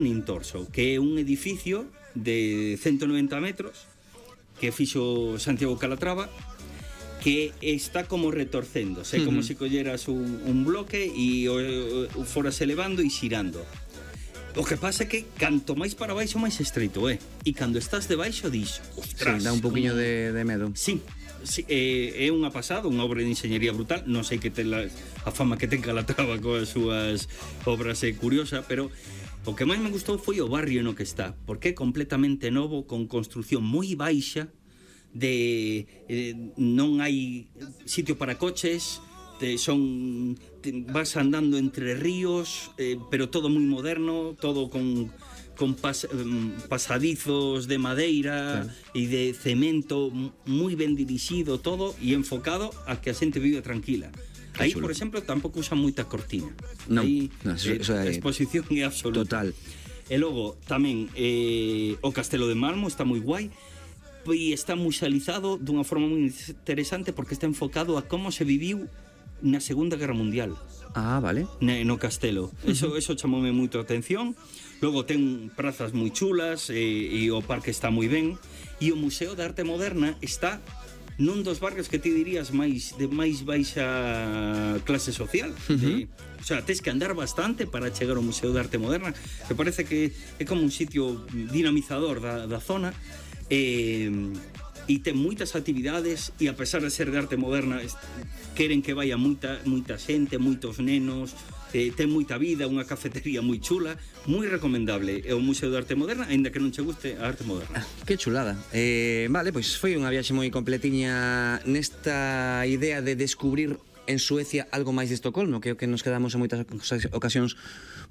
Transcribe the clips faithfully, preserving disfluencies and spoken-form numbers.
Nintorso, que é un edificio de ciento noventa metros que fixo Santiago Calatrava, que está como retorcéndose, uh -huh. como se colleras un, un bloque e o, o foras elevando e xirando. O que pasa é que canto máis para baixo máis estreito é, e cando estás debaixo dis, ostras, sí, dá un poquinho como... de, de medo. Sí, sí, é, é unha pasada, unha obra de enxeñería brutal. Non sei que ten la, a fama que ten Calatrava coas súas obras é curiosa, pero o que máis me gustou foi o barrio no que está, porque é completamente novo, con construcción moi baixa, de eh, non hai sitio para coches, te, son te, vas andando entre ríos, eh, pero todo moi moderno, todo con con pas, pasadizos de madeira e claro. de cemento, moi ben dirixido todo e enfocado a que a xente vive tranquila. Aí, por exemplo, tampouco usan moita cortina. Non, aí no, eso, eh, eso a exposición é absoluta. Total. E logo tamén eh, o Castelo de Malmo está moi guai, e está musealizado dunha forma moi interesante porque está enfocado a como se viviu na Segunda Guerra Mundial. Ah, vale. No castelo. Eso, eso chamoume moito a atención. Logo ten prazas moi chulas e, e o parque está moi ben. E o Museo de Arte Moderna está nun dos barrios que ti dirías máis de máis baixa clase social. Uh-huh. de, o sea, tens que andar bastante para chegar ao Museo de Arte Moderna, que parece que é como un sitio dinamizador da, da zona. E, e ten moitas actividades e a pesar de ser de arte moderna queren que vaya moita, moita xente, moitos nenos, eh, ten moita vida, unha cafetería moi chula, moi recomendable. É o Museo de Arte Moderna, aínda que non che guste a arte moderna. Ah, que chulada. Eh, vale, pois foi unha viaxe moi completiña nesta idea de descubrir en Suecia algo máis de Estocolmo, que é o que nos quedamos en moitas ocasións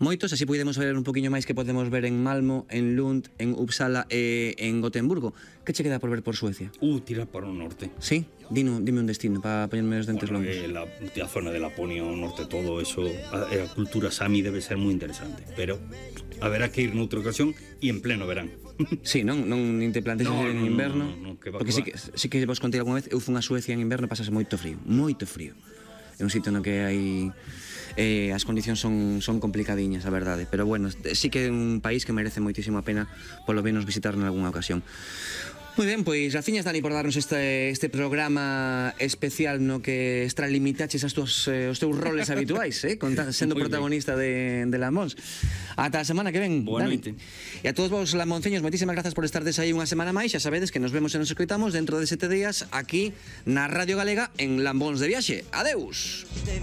moitos, así podemos ver un poquinho máis que podemos ver en Malmo, en Lund, en Uppsala e en Gotemburgo. Que che queda por ver por Suecia? Uh, tirar para o norte. Sí? Dino, dime un destino para poñerme os dentes bueno, longos. Eh, la, la zona de Laponia, o norte, todo eso, a, a cultura sami debe ser moi interesante, pero haberá que ir noutra ocasión e en pleno verán. Sí, non, non nin te planteas no, ir en no, inverno, no, no, no, que va, porque que sí que, sí que vos contei algunha vez, eu fun a Suecia en inverno e pasase moito frío, moito frío. É un sitio no que hai eh, as condicións son, son complicadiñas, a verdade, pero bueno, sí que é un país que merece moitísimo a pena polo menos visitar en algunha ocasión. Moi ben, pois graciñas, Dani, por darnos este, este programa especial no que extralimitaches as tuas, eh, os teus roles habituais, eh, conta, sendo protagonista de, de Lamóns. Ata a semana que ven, Boa Dani. noite. E a todos vos lamonceños, moitísimas grazas por estardes aí unha semana máis. Xa sabedes que nos vemos e nos escoitamos dentro de sete días aquí na Radio Galega en Lambóns de Viaxe. Adeus.